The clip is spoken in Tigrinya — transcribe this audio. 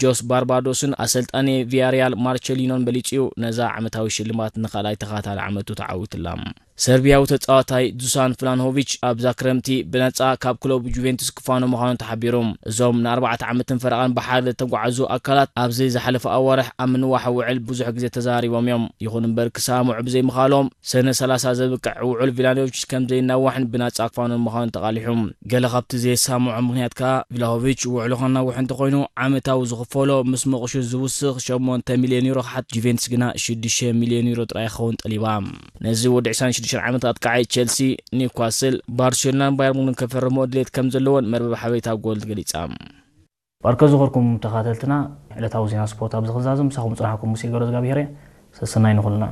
ጆስ ባርባዶስን ኣሰልጣኒ ቪያሪያል ማርቸሊኖን በሊጹ እዩ። ነዛ ዓመታዊ ሽልማት ንኻልኣይ ተኸታታሊ ዓመቱ ተዓዊትላ። ሰርቢያዊ ተጻዋታይ ዱሳን ፍላንሆቪች ኣብዛ ክረምቲ ብነጻ ካብ ክለቡ ጁቬንቱስ ክፋኖ ምዃኑ ተሓቢሩ። እዞም ንኣርባዕተ ዓመትን ፈረቓን ብሓደ ዝተጓዓዙ ኣካላት ኣብዚ ዝሓለፈ ኣዋርሕ ኣብ ምንዋሕ ውዕል ብዙሕ ግዜ ተዘራሪቦም እዮም። ይኹን እምበር ክሰማምዑ ብዘይምኻሎም ሰነ ሰላሳ ዘብቅዕ ውዕል ቪላኖቪች ከም ዘይናዋሕን ብናጻ ክፋኖ ምዃኑ ተቓሊሑ። ገለ ካብቲ ዘየሰማምዖ ምኽንያት ከኣ ቪላሆቪች ውዕሉ ከናውሕ እንተኾይኑ ዓመታዊ ዝኽፈሎ ምስ መቑሹ ዝውስኽ ሸሞንተ ሚልዮን ዩሮ ክሓት፣ ጁቬንቱስ ግና ሽዱሽተ ሚልዮን ዩሮ ጥራይ ክኸውን ጠሊባ። ነዚ ወዲ ዕስራን ሽዱሽተን ዓመት ኣጥቃዓይ ቸልሲ፣ ኒውካስል፣ ባርሴሎናን ባየር ሙኒክን ከፈርሞ ድሌት ከም ዘለዎን መርበብ ሓበሬታ ጎል ገሊጻ። ባርከ ዝኸርኩም ተኻተልትና ዕለታዊ ዜና ስፖርት ኣብዚ ክዛዝም ምሳኹም ጽናሕኩም ሙሴ ገረዝጋብሄር እየ። ሰሰናይ ንኹልና።